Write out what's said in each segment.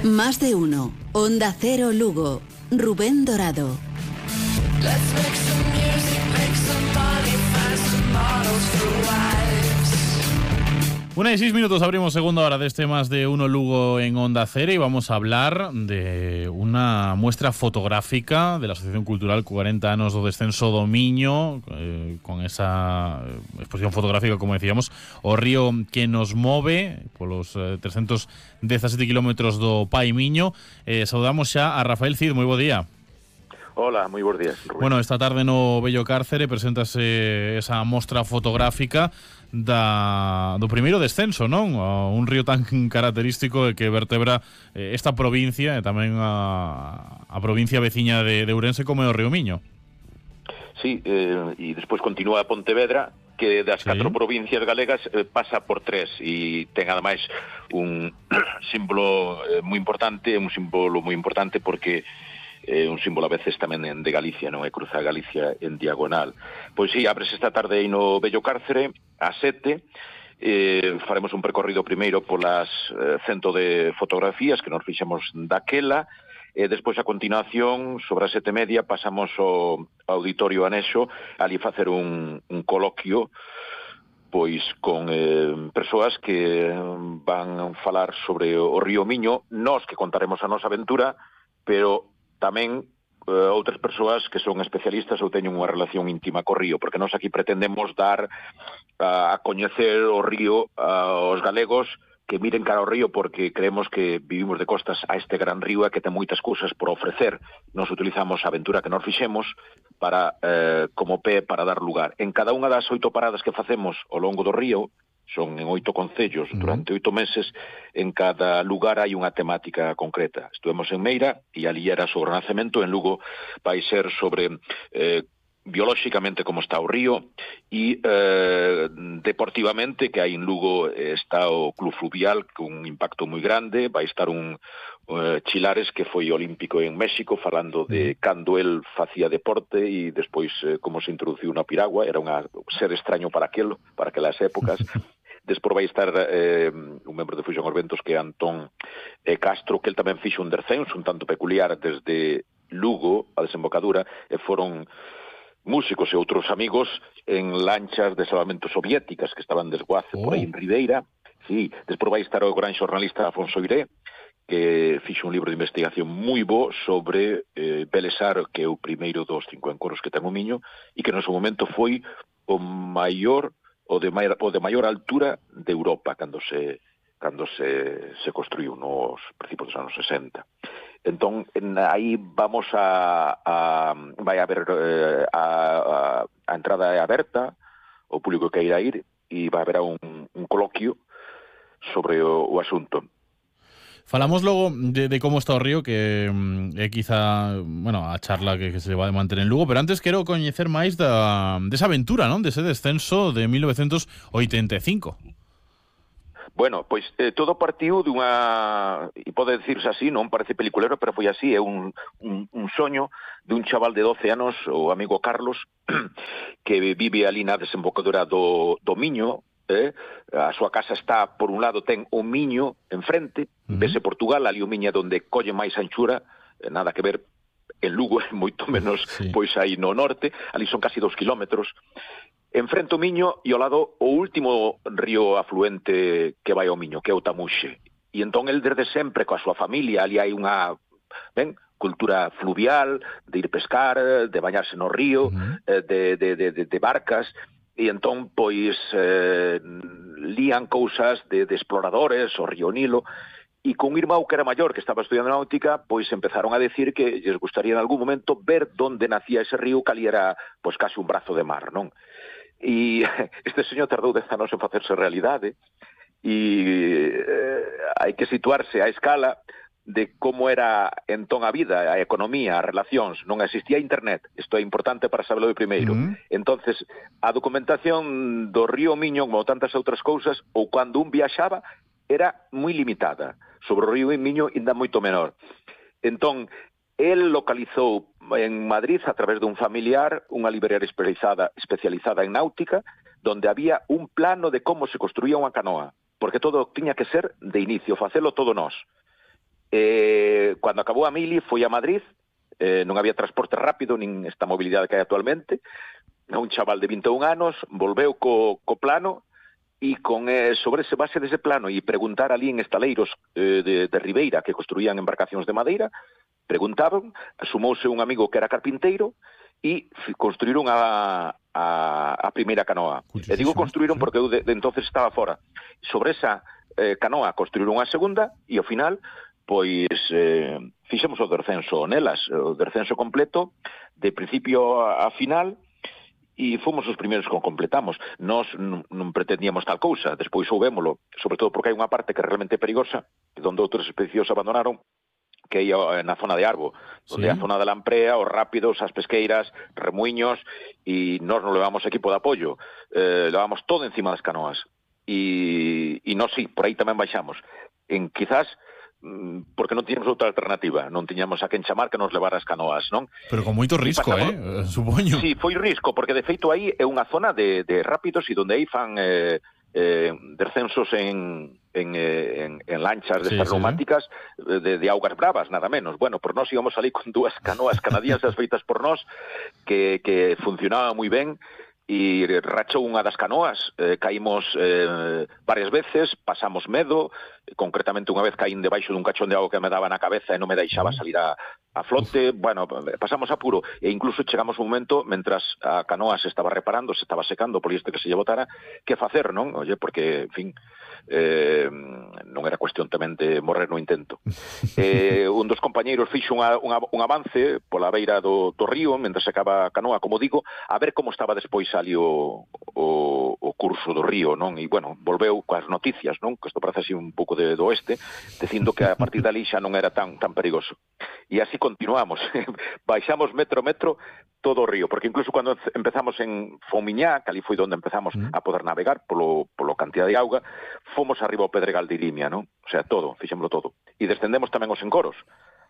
Más de uno. Onda Cero Lugo. Rubén Dorado. Let's make some music, make some money, find some models for wives. 1:06, abrimos segunda hora de este Más de uno Lugo en Onda Cero y vamos a hablar de una muestra fotográfica de la Asociación Cultural 40 anos do Descenso do Miño, con esa exposición fotográfica, como decíamos, o río que nos move polos 317 kilómetros do Pai Miño. Saudamos xa a Rafael Cid, moi bo día. Hola, moi bons días, Rubén. Bueno, esta tarde no Bello Cárcere preséntase esa mostra fotográfica do primeiro descenso, non? Un río tan característico que vertebra esta provincia e tamén a provincia veciña de Ourense como é o río Miño. Sí, e despois continúa a Pontevedra, que das 4 provincias galegas pasa por 3 e ten ademais un símbolo moi importante, porque un símbolo a veces tamén de Galicia, non é? Cruza Galicia en diagonal. Pois sí, abres esta tarde aí no Bello Cárcere a 7. Faremos un percorrido primeiro polas 100 de fotografías que nos fixemos daquela, e despois a continuación, sobre as 7:30, pasamos ao auditorio anexo, ali facer un coloquio pois con persoas que van falar sobre o río Miño, nós que contaremos a nosa aventura, pero tamén outras persoas que son especialistas ou teñen unha relación íntima co río, porque nós aquí pretendemos dar a coñecer o río aos galegos que miren cara ao río, porque creemos que vivimos de costas a este gran río e que ten moitas cousas por ofrecer. Nos utilizamos a aventura que nos fixemos para como pé para dar lugar. En cada unha das 8 paradas que facemos ao longo do río, son en 8 concellos, durante 8 meses, en cada lugar hai unha temática concreta. Estuvemos en Meira, e ali era sobre o Nacemento, en Lugo vai ser sobre biolóxicamente como está o río, e deportivamente, que hai en Lugo está o Club Fluvial, con un impacto moi grande, vai estar un Chilares, que foi olímpico en México, falando de cando el facía deporte e despois como se introduciu na piragua, era un ser extraño para aquelas épocas. Despois vai estar un membro de Fusión aos Ventos, que é Antón Castro, que el tamén fixo un descenso un tanto peculiar desde Lugo a desembocadura, e foron músicos e outros amigos en lanchas de salvamento soviéticas que estaban desguace por aí en Ribeira. Sí, despois vai estar o gran xornalista Afonso Iré, que fixo un libro de investigación moi bo sobre Belesar, que é o primeiro dos 5 encoros que ten o Miño, e que no seu momento foi o de maior altura de Europa cando se construiu nos principios dos anos 60. Entón, aí vamos vai haber a entrada é aberta, o público que irá ir, e vai haber un coloquio sobre o asunto. Falamos logo de como está o río, que é quizá, bueno, a charla que se vai manter en Lugo, pero antes quero coñecer máis desa aventura, non? Dese descenso de 1985. Bueno, pois todo partiu dunha, e pode dicirse así, non parece peliculero, pero foi así, é un soño de un chaval de 12 anos, o amigo Carlos, que vive ali na desembocadura do Miño. A súa casa está, por un lado, ten o Miño enfrente, vese Portugal, ali o Miño é onde colle máis anchura, nada que ver en Lugo, é moito menos, pois aí no norte, ali son casi 2 kilómetros. Enfrente o Miño e ao lado o último río afluente que vai ao Miño, que é o Tamuxe. E entón el desde sempre coa súa familia, ali hai unha cultura fluvial, de ir pescar, de bañarse no río, de barcas. E entón, pois, lían cousas de exploradores, o río Nilo, e con un irmão que era maior, que estaba estudiando náutica, pois empezaron a decir que lles gustaría en algún momento ver donde nacía ese río, que ali era, pois, casi un brazo de mar, non? E este señor tardou 10 anos en facerse realidade, e hai que situarse a escala de como era entón a vida, a economía, as relacións. Non existía internet, isto é importante para saberlo de primeiro. Entonces, a documentación do río Miño, como tantas outras cousas, ou cando un viaxaba, era moi limitada. Sobre o río Miño, ainda moito menor. Entón, el localizou en Madrid, a través dun familiar, unha librería especializada en náutica, donde había un plano de como se construía unha canoa, porque todo tiña que ser de inicio, facelo todo nós. Cando acabou a mili, foi a Madrid, non había transporte rápido, nin esta mobilidade que hai actualmente, un chaval de 21 anos, volveu co plano, e con sobre ese base dese plano e preguntar ali en estaleiros de Ribeira que construían embarcacións de madeira, preguntaban, sumouse un amigo que era carpinteiro e construíron a primeira canoa. E digo construíron porque eu de entonces estaba fora. Sobre esa canoa construíron a segunda e ao final pois fixemos o descenso nelas, o descenso completo de principio a final. E fomos os primeiros que completamos. Nós non pretendíamos tal cousa, despois souvémolo, sobre todo porque hai unha parte que é realmente perigosa, onde outros expedicións abandonaron, que é na zona de Arbo, onde é a zona da Lamprea, os rápidos, as pesqueiras, remuiños, e nós non levamos equipo de apoio, levamos todo encima das canoas. E nós sí, por aí tamén baixamos. Quizás porque non tiñamos outra alternativa, non tiñamos a quen chamar que nos levara as canoas, non? Pero con moito risco, supoño. Sí, foi risco, porque de feito aí é unha zona de rápidos e donde aí fan descensos en lanchas destas neumáticas de augas bravas, nada menos. Bueno, por nós íbamos ali con dúas canoas canadienses feitas por nós que funcionaban moi ben, e rachou unha das canoas, caímos varias veces, pasamos medo, concretamente unha vez caín debaixo dun cachón de auga que me daba na cabeza e non me deixaba salir a flote, bueno, pasamos apuro, e incluso chegamos un momento, mentras a canoa se estaba reparando, se estaba secando, por isto que se lle botara, que facer, non? Oye, porque, en fin, non era cuestión tamén de morrer no intento. Un dos compañeiros fixo un avance pola beira do río, mentre secaba a canoa, como digo, a ver como estaba despois ali o curso do río, non? E, bueno, volveu coas noticias, non? Que isto parece así un pouco do oeste, dicindo que a partir dali xa non era tan perigoso. E así continuamos. Baixamos metro a metro todo o río, porque incluso cando empezamos en Fomiñá, que ali foi onde empezamos a poder navegar polo cantidad de auga, fomos arriba ao Pedregal de Irimia, non? O sea, todo, fixémoslo todo. E descendemos tamén os encoros.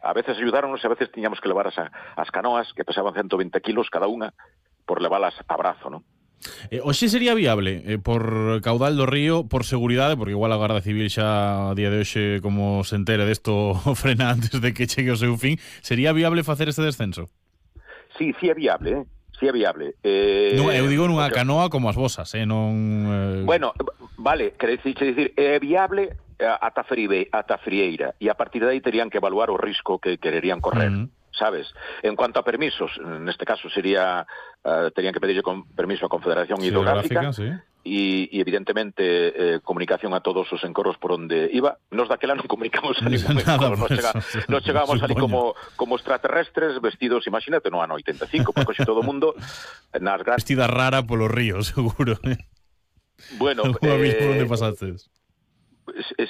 A veces ayudáronos e a veces tiñamos que levar as canoas, que pesaban 120 kilos cada unha, por levalas a brazo, non? Hoxe sería viable, por caudal do río, por seguridade, porque igual a Garda Civil xa a día de hoxe, como se entere desto, frena antes de que chegue o seu fin, sería viable facer este descenso? Sí é viable, sí é viable. Eu digo nunha canoa como as vosas, non... Bueno, vale, queréis dicir, é viable ata Frieira, e a partir de aí terían que evaluar o risco que quererían correr. Sabes? En cuanto a permisos, neste caso sería terían que pedirle permiso á Confederación Hidrográfica, sí. E evidentemente comunicación a todos os encorros por onde iba. Nos daquela non comunicamos a ningún encorro, nos chegábamos ali como extraterrestres vestidos, imagínate, no ano 85, porque xe todo o mundo nas grandes... Vestida rara polo río, seguro. Bueno, alguna vez por onde pasaste?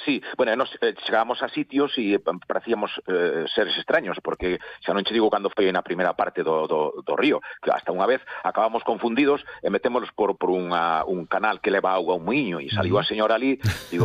Sí, bueno, nos chegábamos a sitios e parecíamos seres extraños, porque xa non che digo cando foi na primeira parte do río, que hasta unha vez acabamos confundidos e metémonos por un canal que leva auga a un muiño, e saliu a señora ali, digo,